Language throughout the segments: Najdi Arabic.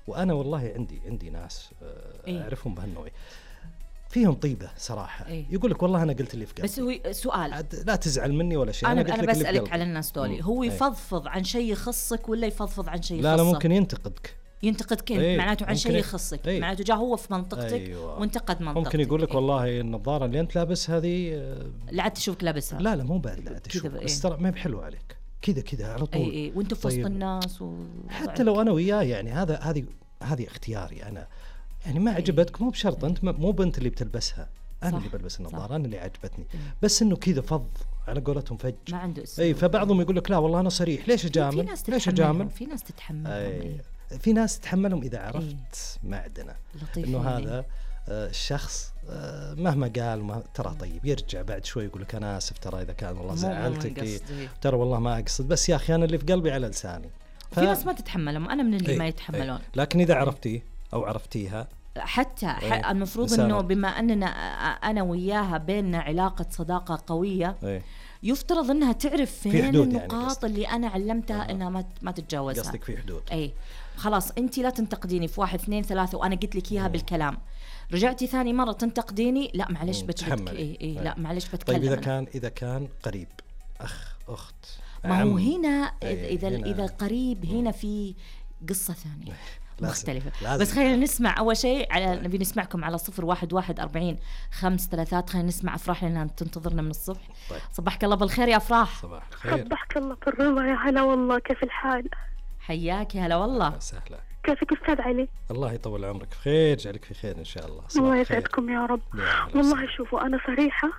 وأنا والله عندي ناس أعرفهم بهالنوع فيهم طيبة صراحة. يقول لك والله أنا قلت اللي في قلبي. بس هو سؤال، لا تزعل مني ولا شيء، أنا بسألك على الناس دولي، هو يفضفض عن شيء يخصك ولا يفضفض عن شيء يخصك؟ لا ممكن ينتقدك معناته عن شيء يخصك، معناته جاء هو في منطقتك وانتقد منطقتك. ممكن يقول لك والله النظارة اللي أنت لابس هذه لا عاد تشوفك لابسها. لا مو بعد لا تشوف، بس ترى ما بحلو عليك كذا على طول. وانت في وسط الناس حتى لو أنا وياه يعني هذه اختياري أنا، يعني ما عجبتك مو بشرط أنت مو بنت اللي بتلبسها، أنا اللي بلبس النظارة، أنا اللي عجبتني. بس إنه كذا فض على قولتهم فج ما عنده اسم. فبعضهم يقول لك لا والله أنا صريح، ليش أجامل؟ في ناس تتحمل في ناس تتحملهم إذا عرفت معدنه إنه هذا الشخص مهما قال ترى طيب، يرجع بعد شوي يقول لك أنا آسف ترى إذا كان والله زعلتك، ترى والله ما أقصد، بس يا أخي أنا اللي في قلبي على لساني. في ناس ما تتحملهم، أنا من اللي ما يتحملون. لكن إذا عرفتيه أو عرفتيها حتى المفروض إنه بما أننا أنا وياها بيننا علاقة صداقة قوية، يفترض انها تعرف فين النقاط يعني اللي انا علمتها انها ما تتجاوزها. قصدك في حدود. خلاص انت لا تنتقديني في 1 2 3 وانا قلت لك اياها بالكلام، رجعتي ثاني مرة تنتقديني، لا معلش بتحمل. لا معلش بتكلم. طيب اذا كان قريب، اخت، ما هو هنا اذا قريب هنا في قصة ثانية مختلفة. بس خلينا نسمع أول شيء نبي نسمعكم على 01114533. خلينا نسمع أفراح لأنها تنتظرنا من الصبح. طيب. صباحك الله بالخير يا أفراح. صباح الخير. صباحك الله بالرضا يا هلا والله، كيف الحال؟ حياك يا هلا والله. سهلا. كيفك أستاذ علي؟ الله يطول عمرك بخير، جعلك في خير إن شاء الله. الله يسعدكم يا رب. والله شوفوا أنا صريحة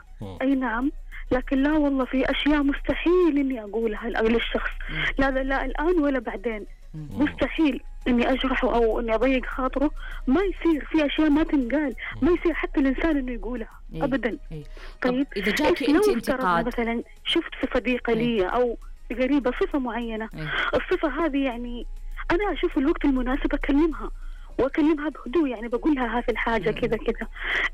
أي نعم، لكن لا والله في أشياء مستحيل إني أقولها للشخص، لا الآن ولا بعدين. مستحيل إني أجرحه أو إني أضيق خاطره، ما يصير. في أشياء ما تنقال، ما يصير حتى الإنسان إنه يقولها أبدا. طيب إذا جاكي أنت انتقاد مثلا شفت في صديقة لي أو قريبة صفة معينة، الصفة هذه يعني أنا أشوف الوقت المناسب أكلمها بهدوء، يعني بقول لها هذه الحاجة كذا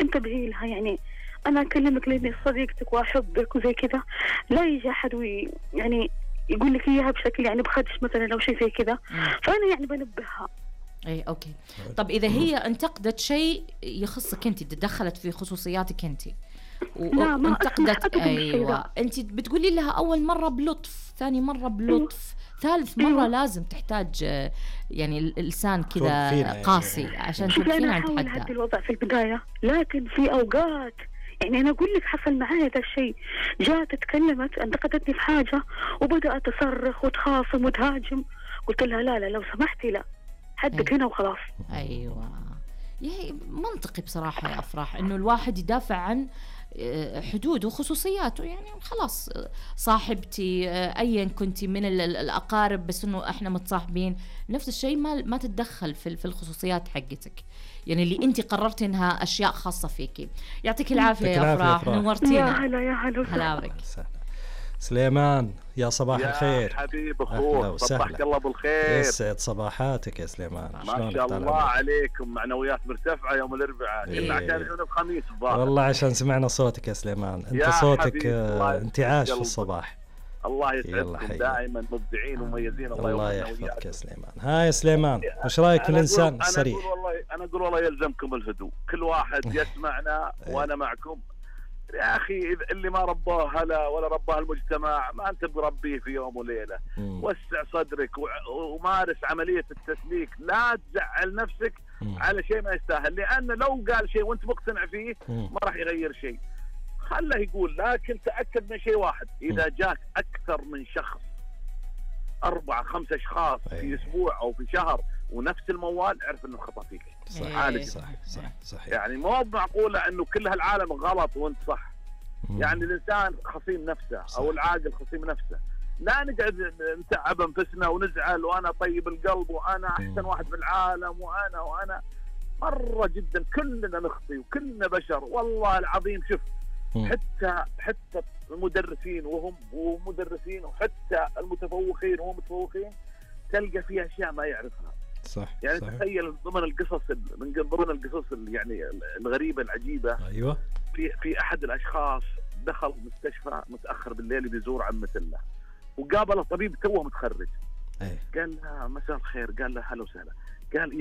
انتبهي لها، يعني أنا أكلمك لأني صديقتك وأحبك وزي كذا، لا يجي أحد يعني يقول لك إياها بشكل يعني بخدش مثلا أو شيء زي كذا، فأنا يعني بنبهها. أوكي. طب إذا هي انتقدت شيء يخصك أنت، تدخلت في خصوصياتك أنت وانتقدت، أنت بتقولي لها أول مرة بلطف، ثاني مرة بلطف، ثالث مرة لازم تحتاج يعني اللسان كذا قاسي عشان تفهمين عن تحدى. أنا الوضع في البداية، لكن في أوقات يعني أنا أقول لك حصل معايا هذا الشيء، جاءت تكلمت انتقدتني في حاجة وبدأت تصرخ وتخاصم وتهاجم، قلت لها لا لو سمحتي لا حدك هنا وخلاص. أيوة يعني منطقي بصراحة يا أفراح إنه الواحد يدافع عن حدوده وخصوصياته، يعني خلاص صاحبتي أيا كنتي من الأقارب، بس إنه إحنا متصاحبين نفس الشيء، ما تتدخل في الخصوصيات حقتك، يعني اللي أنت قررت إنها أشياء خاصة فيكي. يعطيك العافية يا أفراح، نورتينا. يا هلا بك. سليمان يا صباح الخير يا حبيب أخوه، صباحك الله بالخير. يسعد صباحاتك يا سليمان. ما شاء الله عليكم، معنويات مرتفعة يوم الأربعاء. كنا عشان نشوف الخميس الظاهر. والله عشان سمعنا صوتك يا سليمان، أنت صوتك انتعاش في الصباح. الله يسعدكم، دائما مبدعين ومميزين. الله يحفظك يا سليمان. ها يا سليمان، وش رايك في الإنسان الصريح؟ أنا أقول والله يلزمكم الهدوء، كل واحد يسمعنا وأنا معكم يا أخي. اللي ما رباه هلا ولا رباه المجتمع ما أنت بربيه في يوم وليلة. وسع صدرك ومارس عملية التسليك، لا تزعل نفسك على شيء ما يستاهل، لأن لو قال شيء وأنت مقتنع فيه ما راح يغير شيء، خله يقول. لكن تأكد من شيء واحد، إذا جاك أكثر من شخص 4 5 أشخاص في أسبوع أو في شهر ونفس الموال، اعرف إنه خطأ فيك. صح. يعني مو معقولة إنه كل هالعالم غلط وأنت صح. يعني الإنسان خصيم نفسه أو العاقل خصيم نفسه. لا نقعد نتعب أنفسنا ونزعل وأنا طيب القلب وأنا أحسن واحد في العالم وأنا مرة جدا كلنا نخطي وكلنا بشر والله العظيم. شوف حتى المدرسين وهم مدرسين، وحتى المتفوقين وهم متفوقين، تلقى فيها أشياء ما يعرفها. صح. يعني تخيل ضمن القصص يعني الغريبة العجيبة. أيوة. في أحد الأشخاص دخل مستشفى متأخر بالليل بيزور عمته له، وقابله طبيب توه متخرج. قال له مساء الخير، قال له هلا وسهلا، قال